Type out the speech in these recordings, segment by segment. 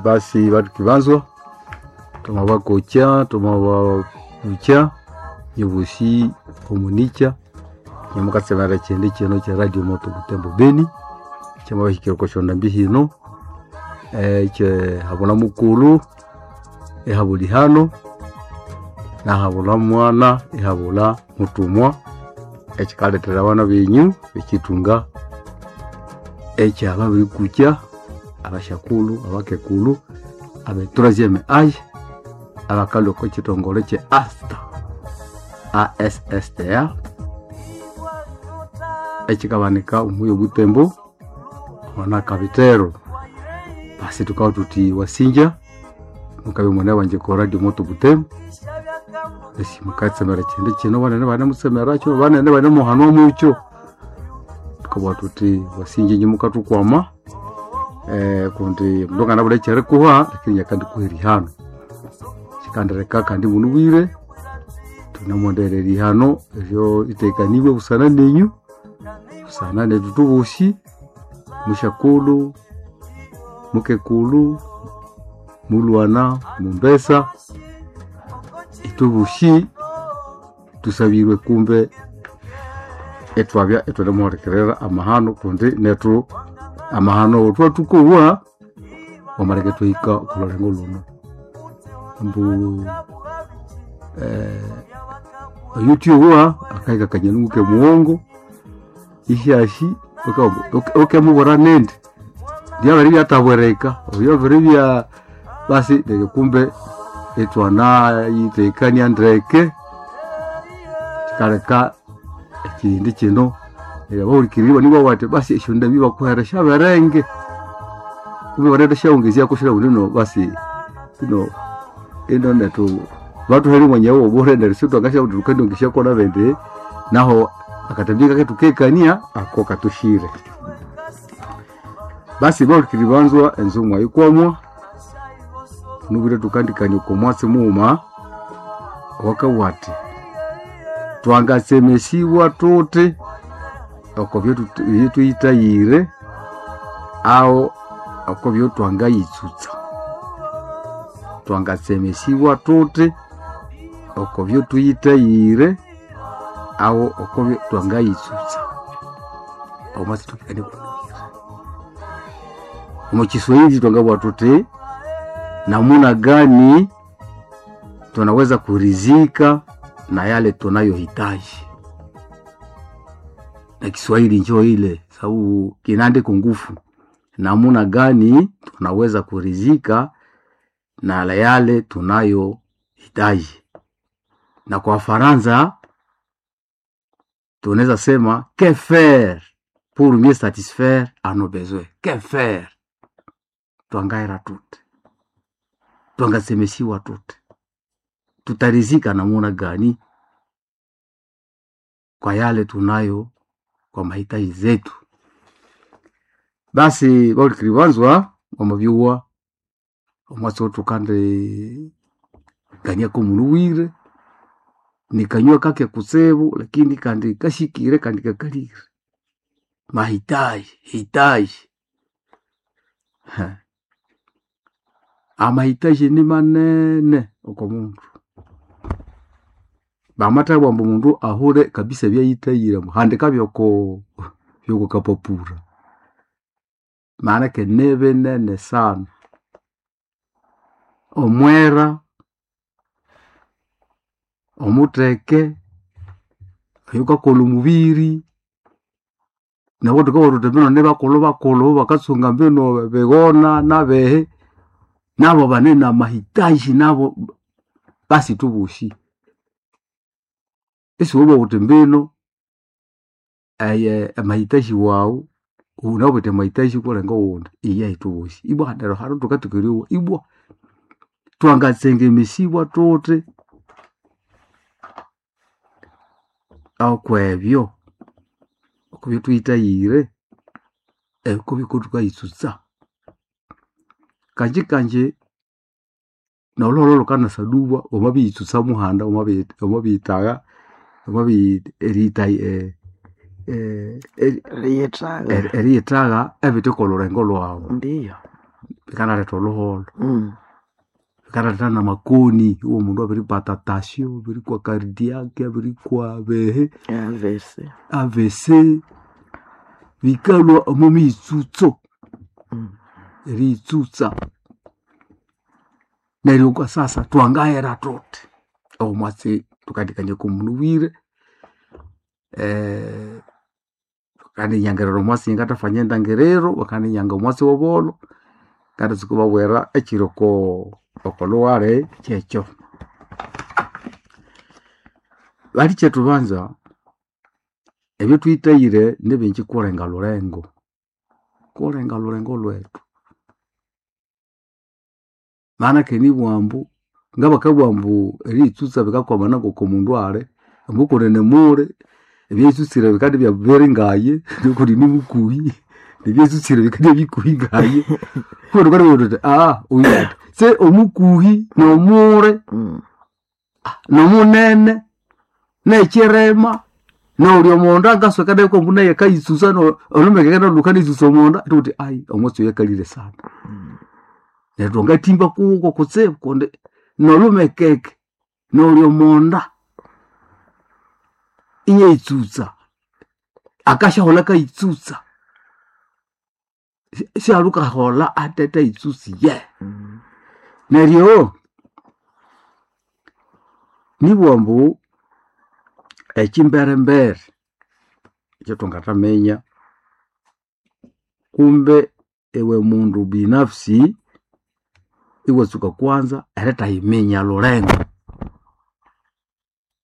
Basi batu kibanzwa twamabakocha twamababucha nyobosi omunicha nyamukatsemera kyindi kino kya Radio Moto Butembo Beni kyamabahikira oko syondambi hino kye habula mukulu ihabula ihano nahabula mwana ihabula mutumwa ekikalethera abana benyu ekitunga ekyababirikukya abasyakulhu, abakekulhu, abe troisième age abakalhwa oko kitongole kye ASTA ASSTA ekikabanika omuyi obutembo omwana Kabitero. Basi tukabya thuthi wasinja mukabya mwene wangye oko Radio Moto Butembo esi mukatsemera kyindi kino banene banemutsemerakyo banene banemuhanwa mukyo. Tukabugha thuthi wasinja inye mukathukwama kundi omundu anganabulha ekyerikuha lakini inye akandikuha erihano. Kyikandireka kandi munubwire thunemwendera erihano eryo litekanibwe busana nenyu, busana nethu thubosi, musyakulhu, mukekulhu, mulhwana, mumbesa, ithwebosi thusabirwe kumbe ithwabya ithwanemuhulikirira amahano kundi nethu amahano thwathukowa wamaleka ithwahika okolhulengo lhuno. Ambu oyuthyowa akahika akanyoni ngokemughongo isyasi wukemubwira nindi lyabiribya athabwirika oyo abiribya basi neryo kumbe ithwanayitekania ndeke kyikaleka ekyindi kino neryo abahulikiriri ibanibugha bathi basi esyondambi bakuhere syaberenge kumbe banathasyawongezyako syalhabwa indi ino basi ino ino nethu bathuhere omwanya wobure neryo sithwangasyabugha thuthi thukendiyongesyako nabindi naho akatambi ngake thukekania ako kathusyire. Basi bahulikiriri banzwa enzungu mwayikwamwa nubwire thukandikania oko mwatsi mughuma owakabugha athi twangatsemesibwa thuthi oko byethuyithayire aho oko byotwangayitsutsa. Twangatsemesibwa thuthi oko byethuyithayire aho oko byotwangayitsutsa. Omwatsi thukikania kunubwire. Omo kiswahili twangabugha thuthi namuna gani tunaweza kurizika na yale tunayohitaji. Na Kiswahili njo ile sababu kinaandiko ngufu. Namuna gani tunaweza kurizika na yale tunayohitaji. Na kwa Faransa tunaweza sema que faire pour mieux satisfaire à nos besoins. Que faire? Twangahera thuthi, twangatsemesiwa thuthi, tutarizika namuna gani kwa yale tunayo kwa mahitaji zetu. Basi bahulikiriri banzwa wamabyuwa omwatsi owothukandi kaniako munubwire nikanywa kake kutsibu lakini kandi kasikire kandi kakalire. Mahitaji hitaji amahitaji nimanene oko mundu. Bamathabugha ambu omundu ahure kabisa ebyayithayire ambu handika byoko byokokapapura maanake nibinene sana. Omwera, omutheke, oyukakolha omubiri, nabo thukabugha thuthi mbino nibakulhu bakatsunga mbino bighona nabihi, nabo bane namahitaji nabo basi ithwebosi. Isiwabugha wuthi mbino amahitaji wawu wunawithe amahitaji kulenga owundi iyahi ithwebosi. Ibwa neryo hanu thukatsuka eryowa ibwa twangatsengemesibwa thuthi okwebyo okwabyathuyithayire okubiko thukayitsutsa. Kangye kangye nolhuholho lhukanasaduba wamabiyitsutsa muhanda wamabiyithagha Eriyithagha eriyithagha ebithe okolhulengo lhwawu. Ndiyo. Bikanaleta oluholo. Bikanaleta namakoni iwo mundu abiripata tasyo, abirikwa cardiac, abirikwa behe, AVC. AVC bikalwa omo miyitsutso. Eriyitsutsa. Neryo kwa sasa twangahera tuthi omwatsi tukandikania komundu bwire bakandinyangira omwatsi ngatafanya endangiriro, bakandinyanga omwatsi w'obolo ngathatsuka ibabwira ekiri oko okolhughali kyekyo. Balikyetu banza ebyothuhithaire nibingi kulenga lhulengo, kulenga lhulengo lhwethu. Maana kandi ibwa ambu ngabakabugha ambu eriyitsutsa bikakwamana ngoko mundu ali, ambu kunene muli ebyayitsutsire bikandibya biri ngaye nuku nimukuhi nebyayitsutsire bikandibya bikuhi ngaye. Kundi tukandibugha thuthi oyu athi se omukuhi nomuli nomunene nekyirema noli omonda ngasweka nayo kwambu naye akayitsutsa olhumeke lukanayitsutsa omonda thukuthi ayi omwatsi oyu akalire sana. Neryo thwangathimba kuko kutsibu kundi nolhumekeke noli omonda inayitsutsa akasyaholha akayitsutsa syalukaholha atetayitsutsiye. Neryo nibugha ambu ekyimberembere ekyathwangathaminya kumbe iwe mundu binafsi iwatsuka kwanza erithayiminya lhulengo.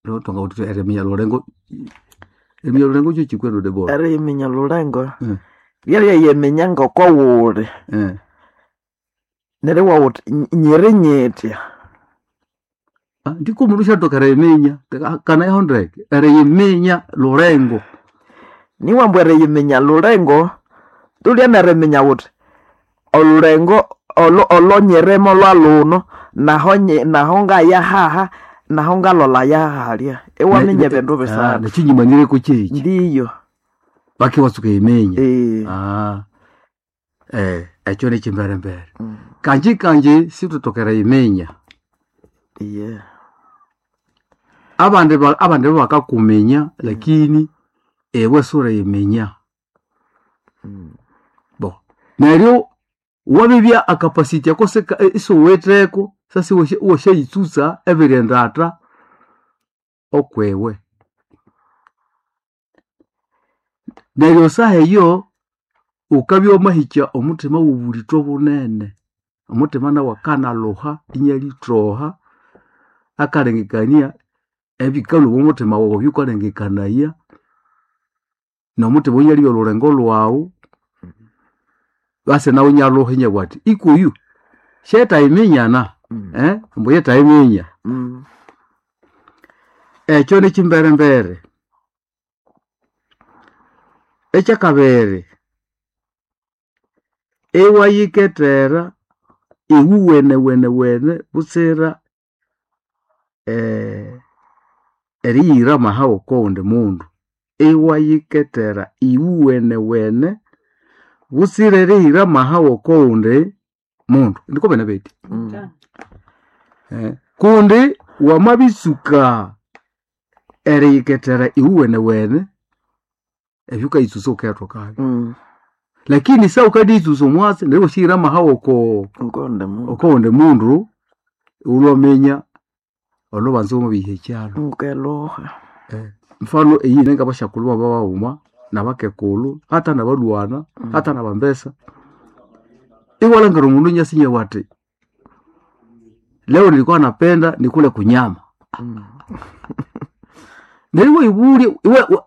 Lho thwangabugha thuthi eriminya lhulengo, eriminya lhulengo kyekyi kwenu Debora? Eriyiminya lhulengo lyeryayiminye ngoko wuli. Neryo iwabugha wuthi nyiri nyithya. Ndiko omundu syathoka eriyiminya kanayaho ndeke eriyiminya lhulengo. Niwa ambu eriyiminya lhulengo tulya neriminya wuthi olhulengo olonyirimo lwalhuno naho naho ngayahaha naho ngalolha yahalya iwaminya ebindu bisathu. Nekyinyimanyireko kyekyi. Ndiyo. Baki iwatsuka eriminya. Ekyo nikyimberembere. Kanji kanji sithwithoka eriyiminya. Abandi abandi bakakuminya lakini iwe siwuliyiminya. Bo neryo wabibya akapasiti ako isiwuwitheko sasa iwasyayitsutsa ebiri endatha okwiwe. Neryo esaha eyo wukabya wamahikya omuthima wobulithwa bunene. Omuthima nawu akanalhuha inalithoha akalengekania ebikalhwa omwa muthima wawu ebyawukalengekanaya nomuthima oyo inalibya olhulengo lhwawu basi nawu inalhuha inabugha athi ikuyu syetayiminyana ambu yetayiminya. Ekyo nikyimberembere. Ekyakabiri iwayikethera iwuwenewene butsira eriyira amaha okowundi mundu. Iwayikethera iwuwenewene butsira eriyira amaha okowundi mundu. Ndiko bene bethi. Kundi wamabitsuka eriyikethera iwuwenewene ebyukayitsusa wukayatokabyo. Lakini sa wukandiyitsusa omwatsi neryo iwasyahira amaha okowundi mundu iwulwaminya olhubanza wamabiha ekyalo. Wukelhuha. Mfano eyine ngabasyakulhu babaghuma nabakekulhu hata nabalhwana hata nabambesa iwalhangira omundu inyasa inabugha athi leo nilikuwa napenda nikule kunyama. Neryo iwayibulya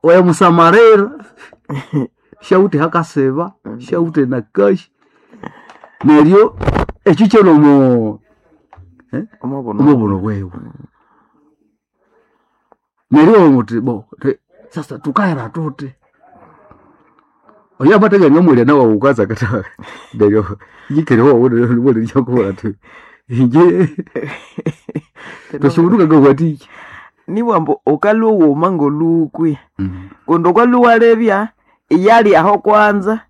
wayamusamalira syawithe ahakasiba, syawithe nakashi neryo ekyo kyalhwa omo omobuno bwiwe. Neryo iwabugha wuthi bo sasa thukahera thuthi oyo amathabya anamwalya nawu wukasa akatha neryo yikere iwawunewalyakubuwa athi inje thwasyabundu ngangahwathikya. Nibugha ambu wukalhwa wughuma ngolhukwi kundi wukalhwa iwalebya iyalyaho kwanza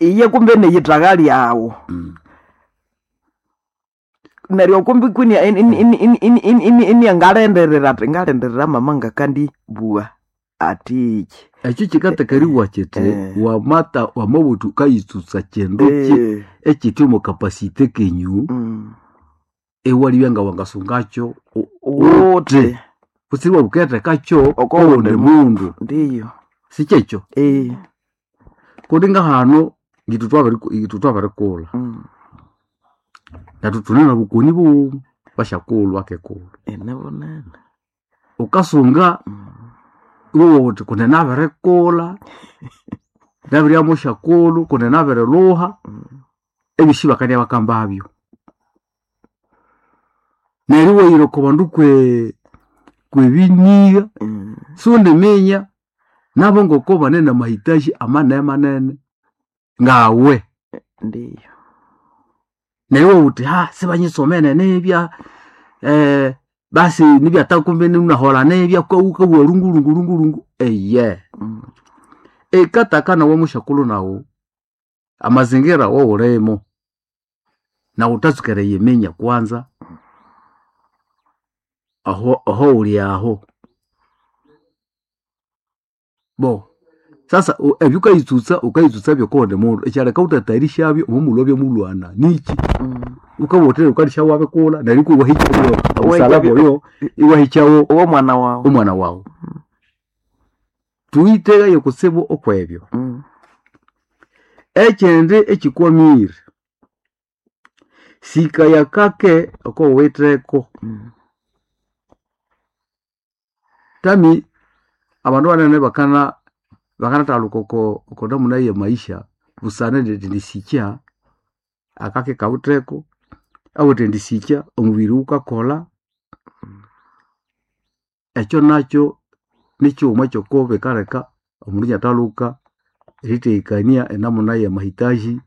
Iye kumbe neyithaga lyawu. Neryo kumbi kwini iniangalindirira ati ngalindirira mama ngakandibugha atiki. Ekyo kikatakariwa kiti Eh. wamata wamabuthu ukayitsutsa kindu ki Eh, ekiti omo kapasite kenyu ewalibya nga wangasungakyo Wuthi kutsiba wukethekakyo Oko owundi wundi mundu ndiyo. sikyekyo Eh, kundi ngahano ngithu twabirikulha nethu thune nobukoni bughuma basyakulhu akekulhu ene bunene. wukasunga iwowa wuthi kundi nabirikulha nabirya musyakulhu kundi nabirilhuha ebyosi bakandya bakambabyo neryo iwayira oko bandu kwe kwebinigha siwundiminya nabo ngoko bane namahitaji amanene manene ngawe Ndiyo. neryo iwabugha wuthi ha sibanyisomene nibya basi nibya takumbi naholha nibya wukabugha lungulungulungulungu eye ekataka nawe musyakulhu nawu amazingira wowulimo nawu wuthatsuka eriyiminya kwanza aho ahowuli aho bo sasa ebyo wukayitsutsa wukayitsutsa byokuwundi mundu ekyaleka wutatayarishabyo omomulhwa mulhwana niki wukabugha wuthi wukandisya wabikulha neryo ikwa iwahikyawo omusalaba oyo iwahikyawo Owo mwana wawu. omwana wawu thuyitheghaya kutsibu okwebyo ekyindi ekyikwamire sikaya kake okowuwitheko tami abandu banene bakana bakanathaluka oko okonamuna ye maisha busana nerisikya akake kawitheko awithe erisikya omubiri wukakolha ekyo nakyo nikyighuma kyoko bikaleka omundu inathaluka eritheghekania enamuna ya mahitaji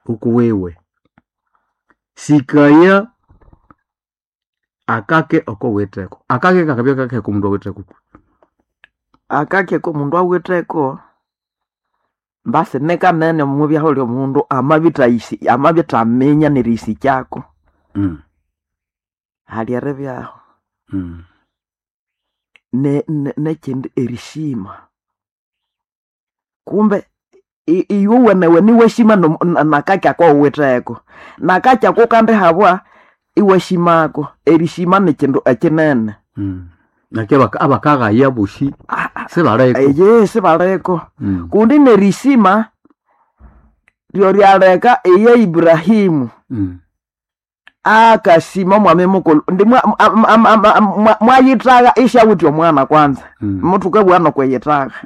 ukuwiwe sikaya akake okowitheko akake kakabya kake omundu awitheko Akake komundu awitheko mbasi nikanene omubyaho lyomundu amabithayisi amabithaminya neriyisikyako hali eribyaho nekyindi erishima kumbe iwe iwashima nakaki akowuwitheko nakaki ako kandihabwa iwashimako erishima nikindu ekinene. Naki abakaghaya bosi sibaleko Eye sibaleko kundi nerishima lyoryaleka iye Ibrahimu akasima omwami mukulhu ndi mwayithagha isyawithe omwana kwanza muthukabugha nokwiyithagha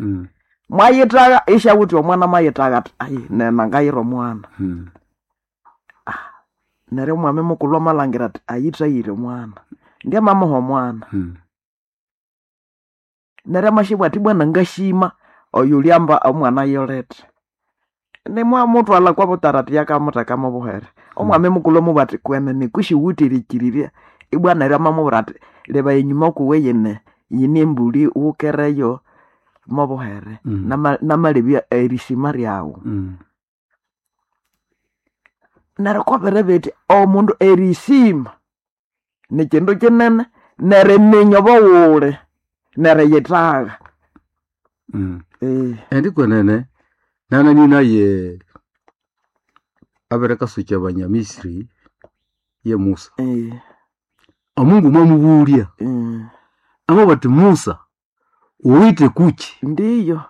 mwayithagha isyawithe omwana mwayithagha athi ayi nena ngayira omwana neryo omwami mukulhu amalhangira athi ayithayire omwana ndyamamuha omwana neryo amashibwa athi bwana ngashima oyo ulyamba omwana yolethe nimwamuthwalha kwabutara athi yakamuthekamu obuhere omwami mukulhu amubwira athi kwenene kwisi wuwithe erikirirya ibwa neryo amamubwira athi leba enyuma kuwe yine yine embuli wukereyo mobuhere namalebya erishima ryawu neryo kobere bithi omundu erishima nikindu kinene neriminya obuwuli neriyithagha Indi kwenene nanani naye abirikasukya abanyamisiri ye Musa omungu mwamubulya amabugha athi Musa wuwithe kuki Ndiyo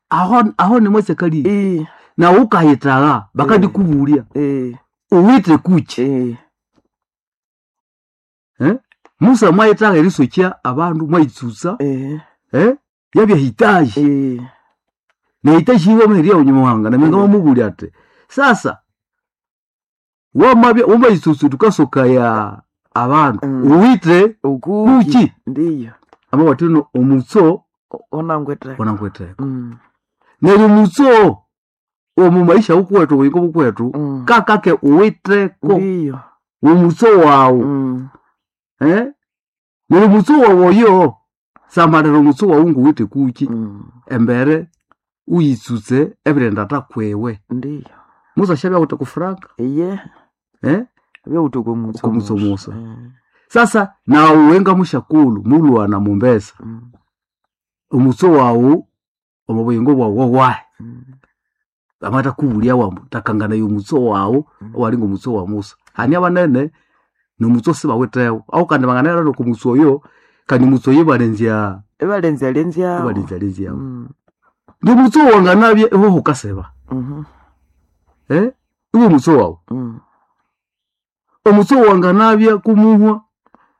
aho aho nimwasakalire nawu wukayithagha bakandikubulya wuwithe kuki Musa mwayithagha erisokya abandu mwayitsutsa yabya hitaji nehitaji yiwe maherya nyamuhanga naminga mwamubulya athi sasa wamabya wamayitsutsa thukasokaya abandu wuwithe kuki Ndiyo amabugha athi no omutso wunangwitheko wunangwitheko neryo omutso omu maisha wukuwethu obuyingo bukuwethu kakake wuwitheko Ndiyo omutso wawu neryo omutso wawu oyo samalira omutso wawu nguwithe kuki embere Uyitsutse ebirenda takwewe. Ndiyo. Musa shabya awithe kufuranga. Iye. Eh? Byawuthe okwamutso Okwamutso musa. musa. Sasa nawe nga mushakulu mulwana mumbesa. Omutso wawu omu buyingo bwawu wawahi. Amatakubulia wambu takangana y'omutso wawu owalinga omutso wa Musa. Hani abanene nomutso sibawithewo. Aho kandi banganahera n'okumutso oyo kandi omutso oyo ibalenzya Ibalenzya lenzyawo. ibalenzya lenzyawo. N'omutso wanganabya iwe hukasiba. Eh? Iwe omutso wawu. Omutso wanganabya kumuhwa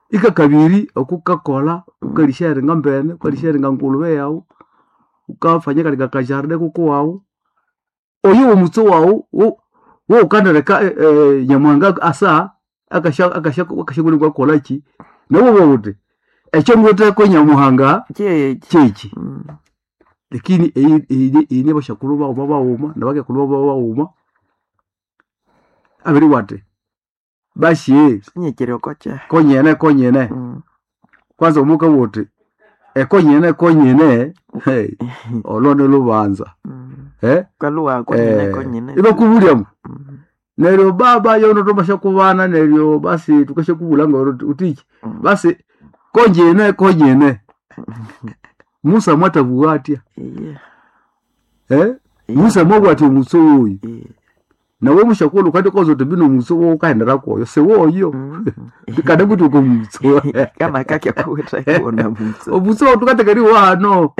ikakabiri okukakolha ukalisyaringa mbene, ukalisyaringa ngulube yawu, ukafanya kali kakajardin kukuwawu. Oyo womutso wawu woukandireka Nyamuhanga asa akasya akasya akasyakolaki nawe wabugha wuthi ekyo ngwitheko Nyamuhanga Kyekyi. kyekyi. Lakini eyi nibasyakulhu baghuma baghuma nabakekulhu baghuma baghuma abiribugha athi basi Sinyikiri okokyehe. konyene konyene. Kwanza omukabugha wuthi ekonyene konyene olwo nilhubanza. Kalhuwa konyene konyene. Ibakubulya ambu neryo baba yono thwamasya neryo basi thukasyakubulha ngawuthi wuthiki basi konyene konyene. Musa mwathabugha athya? Iye. Musa mwabugha athi omutso woyu. Nawe musyakulhu wukandikoza wuthi bino omutso wowukaghendera kwoyo siwoyo. Kandi kuti okomutso. Kana kakya kuwitheko na mutso. Omutso wawu thukatheka eriwa hano.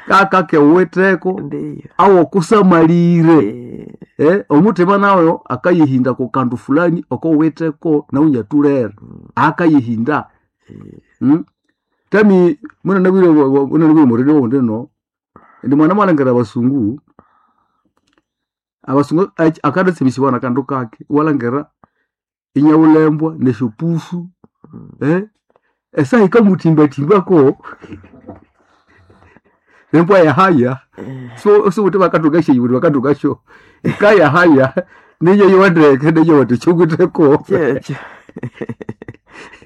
Kakake wuwitheko Ndiyo. awokusamalire. Omuthima nawo akayihinda kukandu fulani okowuwitheko nawu inyathulere. Akayihinda. Tami munanabwire omurindi owundi ino, indi mwana mwalhangira abasungu, abasungu akathatsimisibwa nakandu kake iwalhangira inyawulembwa nesyopufu esaha yikamuthimbathimbako embwa yahaya siwuthi bakathunga syeyi bakathungasyo yikayahaya niyoyowa ndeke neyowa wuthi kyowutheko. Kyekyo.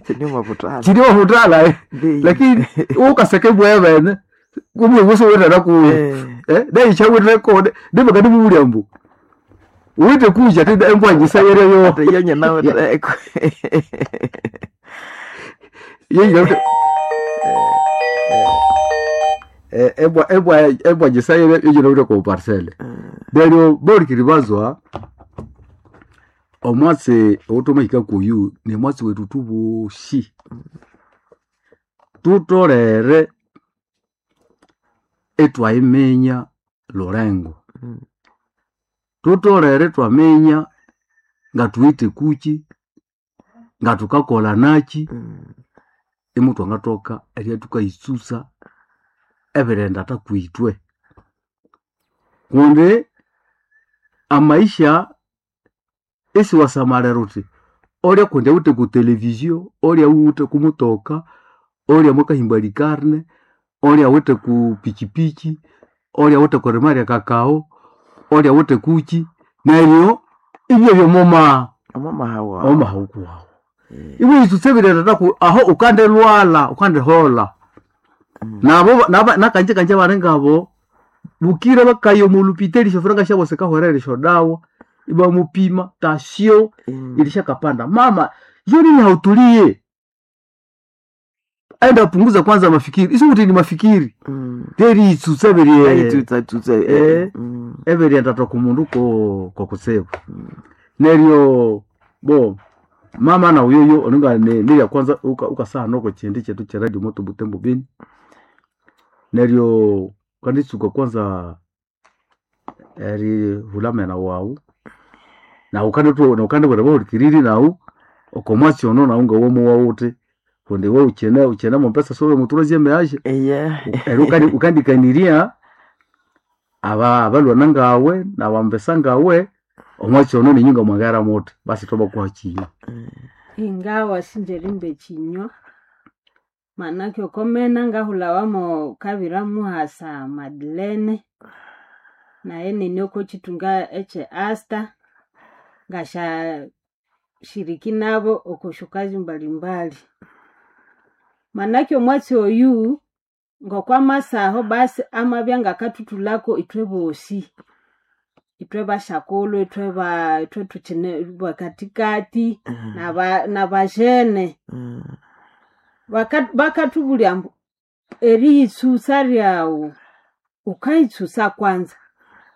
Kyine Kyine wabuthalha Ndiyo. lakini wukaseka embwa yabene kumbe siwuwithera kuyo. Nayo yikyawitheko nibakandimubulya ambu wuwithe kuki athi embwa nyisayereyo. Ate iyo nyinawitheko. Yeyinawithe embwa embwa embwa nyisayere yeyinawithe oko parcel. Neryo bahulikiriri bazwa omwatsi owuthwamahika kuyu nimwatsi wethu ithwebosi. Thutholere ithwayiminya lhulengo. Thutholere ithwaminya ngathuwithe kuki, ngathukakolhanaki, imuthwangathoka eribya thukayitsutsa ebirighenda thakwithwe. Kundi amaisha isiwasamalira wuthi olya kundi awithe ku televizio, olya awithe kumutoka, olya mwakahimba likarne, olya awithe ku pikipiki, olya awithe kwirima ryakakao, olya awithe kuki, neryo ibyabya omomaha Omomaha wawu. omomaha wukuwawu. Iwayitsutsa ebirighenda thaku aho wukandilhwalha wukandiholha. Nabo nakanje kanje abalingabo bukira bakaya omolhupitali esyofuranga syabo sikahwerera esyodawa ibamupima tasyo ilishakapanda. Mama juu nini hautulie? Enda punguza kwanza mafikiri. Isiwuthi ni mafikiri. Teriyitsutsa Ayitsutsatsutsa. ebirighenda thakumundu kokutsibu. Neryo bo mama nawu yoyo oninga nirya kwanza wukasaha okokyindi kyethu kye radio moto Butembo Beni. Neryo wukanditsuka kwanza erihulha amena wawu nawu wukandibwira abahulikiriri nawu okomwatsi ono nawu ngawamowa wuthi kundi iwe wukyine wukyine mombesa siwuli mutroisieme age. Iye. Neryo wukandikanirya abalwana ngawe nabambesa ngawe omwatsi ono ninyu ngamwangaghera muthi basi ithwabakuha kyinywa. Ingawa sinjerimba ekinywa manake okomena ngahulhawa kabira muhasa Madeleine naye nini oko kithunga ekye Asta ngasya shiriki nabo oko syokazi mbalimbali. Manake omwatsi oyu. Ngokwamasaho basi amabya ngakathuthulako ithwe bosi, ithwe bashakulhu, ithwe ba ithwe thukyine bakathikathi nabajene. Bakathubulya ambu eriyitsusa ryawu, wukayitsusa kwanza,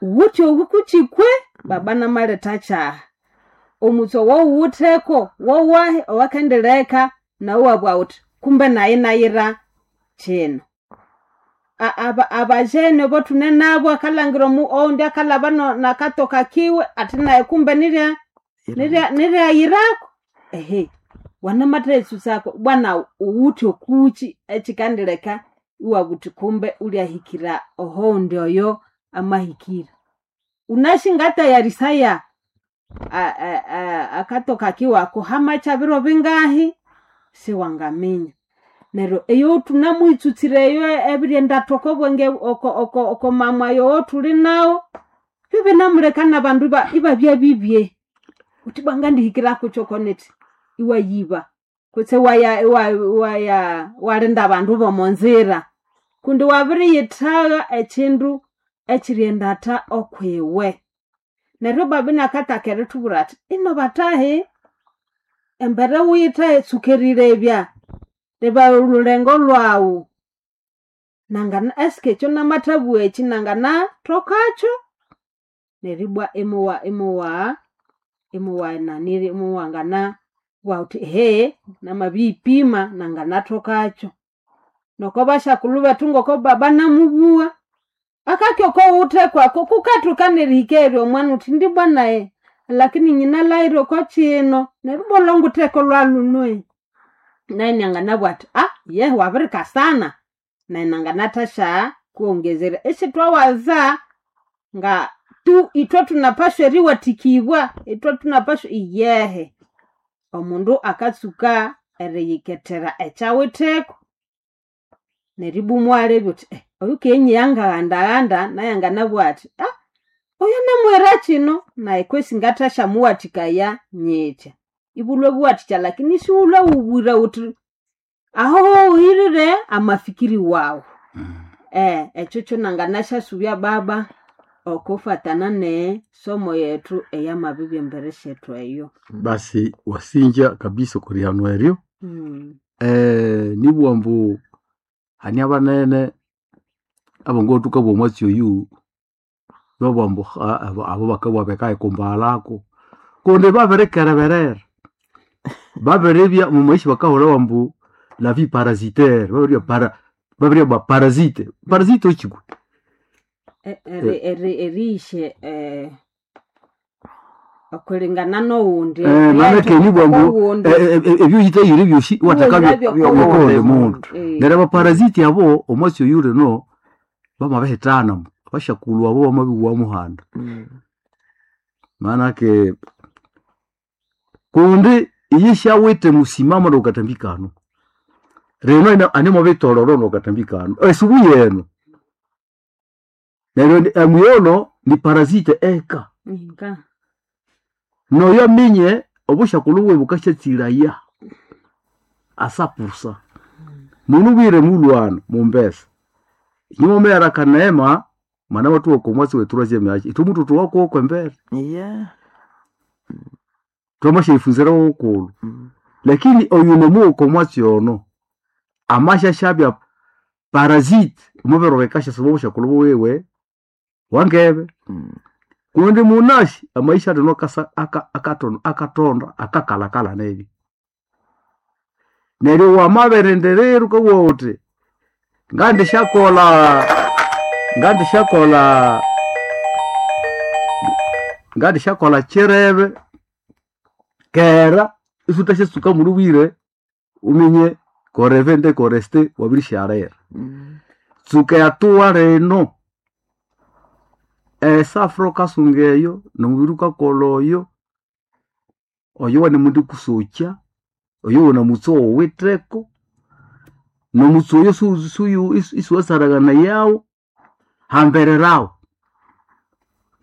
wuwithe obukukyikwe baba namaletha kyaha. Omutse owawuwitheko wowahi owakendileka nawu iwabugha wuthi kumbe nayi nayira kyino. Abajene abothune nabo akalhangira owundi akalhaba nakatoka kiwe athi nayi kumbe nirya niryayirako. Ehe wanamathaghitsusako bwana wuwithe okukyi ekyikandileka iwabugha wuthi kumbe wulyahikira ohowundi oyo amahikira. Wunasi ngatayarisaya akatoka kiwe ako hamakya biro bingahi siwangaminya. Neryo eyo thunamuyitsutsire eyo ebiryenda okobwenge okomamwa owothuli nawu, byobinamuleka nabandu ibabya bibye. Wuthi ibwa ngandihikira kukyi okonithi iwayiba kutse iwaya iwalinda abandu bomonzira. Kundi wabiriyithagha ekyindu ekyiryendatha okwiwe. Neryo baba inakataka erithubwira athi ino bathahi embere wuyithe tsuka erilebya, leba olhulengo lhwawu nangana esike ekyo namathabugha ekyi nanganathokakyo. Neryo ibwa imuwa imuwa imuwananiri imuwangana bugha wuthi ehe namabiyipima nanganathokakyo. Noko basyakulhu bethu ngoko baba namubugha, akakya okowutheko ako kukathoka nerihika eryo omwana wuthi indi bwa nayi lakini nyinalhaghire okokyino neryo ibwa olhwangutheko lwalhuno. Nayu inanganabugha athi yehe wabirikasana nayi nanganathasya kuwongezerya. Isithwawaza nga tu ithwe thunapashwa eriwathikibwa, ithwe thunapashwa iyehe. Omundu akatsuka eriyikethera ekyawitheko neribwa imuwalebya wuthi oyukenyiya ngaghandaghanda nayu anganabugha athi oyo namuwira kyino nayi kwesi ngathasyamuwathikaya nyithya. Ibulhwe buwathikya lakini isiwulhwe wubwire wuthi aho wuhirire amafikiri wawu. Ekyo kyonanganasyasubya baba okufatana nesomo yethu eyamabibya embere syethu eyo. Basi wasinja kabisa okw'erihano eryo. Nibugha ambu hane abanene abangabugha thukabugha omwatsi oyu babugha ambu abo bakabugha bakayikumbaghalaku kundi babirikereberera. Babiribya omu maisha bakahulhawa ambu la vie parasitaire, babiribya para babiribya parasite. Parasite wekyi kwe? Eriyisya okulingana nowundi Maanake nibugha ambu owundi ebyuyithayire ebyosi iwathekabyo Iwahirabyo okowundi mundu. Neryo abaparasite abo omwatsi oyu lino bamabihithana, abasyakulhu abo bamabihugha muhanda. Maanake kundi iyo syawithe musimamo nokukatambi kano. Rino animwabitoloro nokukatambi kano, esubu yenu. Neryo emighono ni parasite eka. Inga. Noyo aminye obusyakulhu bwiwe bukasyatsighiraya asapusa. Munubwire mulhwana mumbesa, inywe mwameghera akaneema mwana wathuwa okomwatsi w'e troisième age, ithwe muthuthuwako kwembere. Thwamasyayifunzira ghukulhu. Lakini oyu nomuwa okomwatsi ono amasyasyabya parasite omubiri bikasyasiba obusyakulhu bwiwe wangebe. Kundi munasi amaisha lino akasa akatonda akakalakala nebi. Neryo wamabirindirira wukabugha wuthi ngandisyakolha ngandisyakolha ngandisyakolha kyirebe kera isithwasyatsuka mulhubwire wuminye koreve nde koreste wabirisyalira. Tsuka ehatua lino esafra wukasunga eyo nomubiri wukakolha oyo, oyo wanemundi kusokya, oyo wunamutse owuwitheko, nomutse oyo isiwasaranganayawo, hambererawo.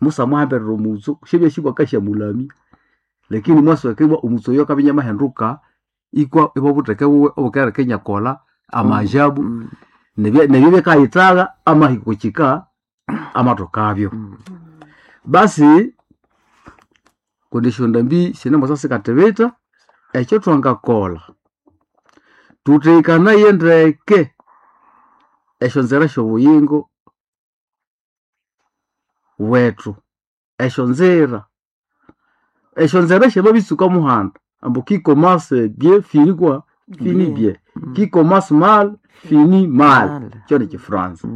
Musamuhamberera omutso syabya bwakasyamulamya lakini mwasweka ibwa omutse oyo akabya inamahinduka ikwa ibwa obutheke buwe obukereka inyakolha amajabu. Nebyo bikayitagha amahiko kika amatokabyo. Basi kundi esyondambi sinemwasa sikathibitha, ekyo thwangakolha, thuthekanaye ndeke esyonzira syobuyingo bwethu, esyonzira syamabitsuka muhanda ambu qui commence bien finit quoi? Finit bien. Qui commence mal finit mal. Kyo nikifranza.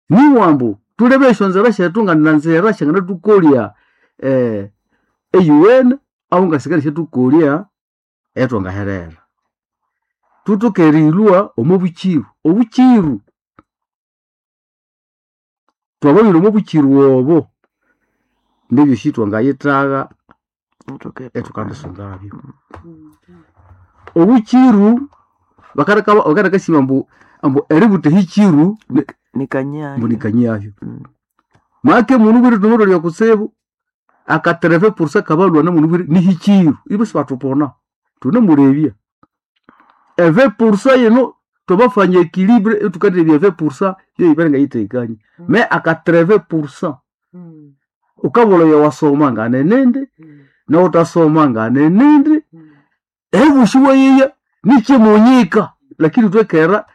Niwa ambu thulebe esyonzira syethu ngananzira syanganathukolya eyuwene ahu ngasikali syathukolya eyatwangaherera. Thuthoke erilhwa omo bukiru, obukiru twamabirwa omo bukiru obo nebyosi twangayithagha ithukandisungabyo. Obukiru bakaleka ambu eributha ehikiru ambu nikanyabyo. Make mundu bwire thunamalholya kutsibu akatereve purusa kabalhwana mundu bwire nihikiru ibo sibathupona thunamulebya. Eve purusa yino twamafanya equilibre ithukalebya eve purusa yoyibere ngayithekanie me akatereve purusa wukabulha oyo wasoma nganenindi nowuthasoma nganenindi ebusi bwayiya nikyimunyika lakini thwekera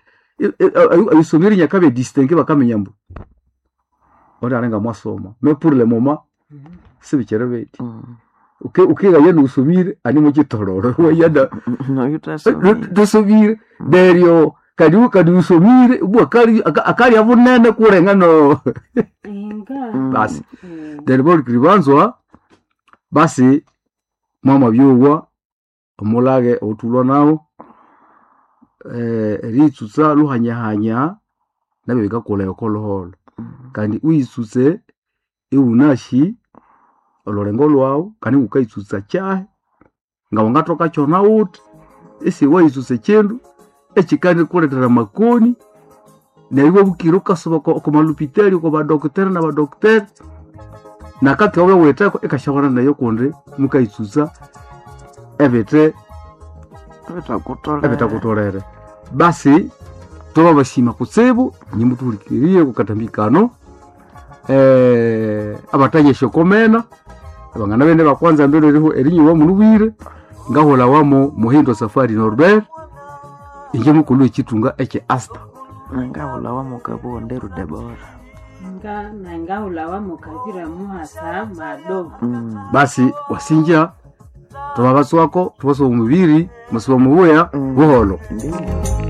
ebisomero nyakabya distingue bakaminya ambu ondi alinga mwasoma mais pour le moment sibikyiri bithi. Wukighaya niwusomire animukyitololo iwaya thasomire neryo kandi wusomire ibwa akalya bunene kulenga no basi neryo bahulikiriri banzwa basi mwamabyowa omulage owathulwa nawu eriyitsutsa lhuhanyahanya nabyo bikakulha oko lhuholho kandi uyitsutse iwunasi olhulengo lhwawu kandi wukayitsutsa kyahi ngawangathoka kyona wuthi isiwayitsutsa ekyindu ekyikandikulethera amakoni neryo iwabukira wukasuba oko malhopitali oko badokiteri nabadokiteri nakaki wabya ikasyahwana nayo kundi mukayitsutsa ebithe ebithakutholere. Basi twamabasima kutsibu inye muthuhulikirire okwa kano abathanya esyokomena abangana bene bakwanza mbere erinyuwa munubwire ngahulhawamu Muhindo Safari Norbert inje mukulhu w'ekyithunga ekye Asta. Ngahulhawamu Kabonde Rudebora. Ngahulhawamu Kabira Muhasa Mado. Basi wasinja thwamabatswako thwabasuba omubiri musiba mubuya buholho. Ndiyo.